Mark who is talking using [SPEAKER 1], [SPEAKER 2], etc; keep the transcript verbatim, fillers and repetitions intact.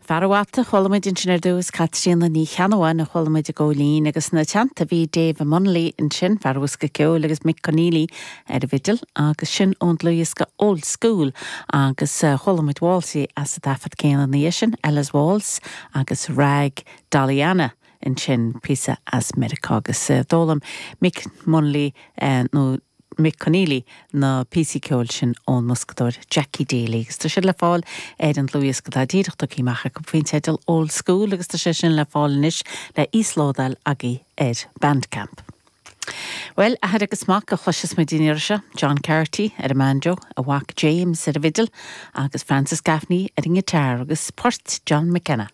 [SPEAKER 1] Fear an Bhata chuala muid ansin ar dtús Caitríona Ní Cheannabháin a chuala muid i gCóilín agus ina teannta bhí Dave Munnelly ansin fear an bhosca ceoil agus Mick Conneely ar an bhfidil agus sin ón dlúthdhiosca Old School agus uh, chuala muid válsaí as an taifead céanna ní sin Ella's Waltz agus Rag Dolly Anna ansin píosa as Meiriceá agus uh, d'fhoghlaim Mick Munnelly uh, nó Mick Conneely na píosaí ceoil sin ón mboscadóir Jackie Daly, agus tá sé le fáil ar an dlúthdhiosca atá díreach tugtha amach acu faoin teideal Old School agus tá sé sin le fáil anois le íoslódáil agaibh ar Bandcamp. Well athair agus mac a chloisfeas muid an iarraidh seo, John Carty ar an mbanjo, a mhac James ar an bhfidil agus Francis Gaffney ar an ngiotár agus port John McKenna.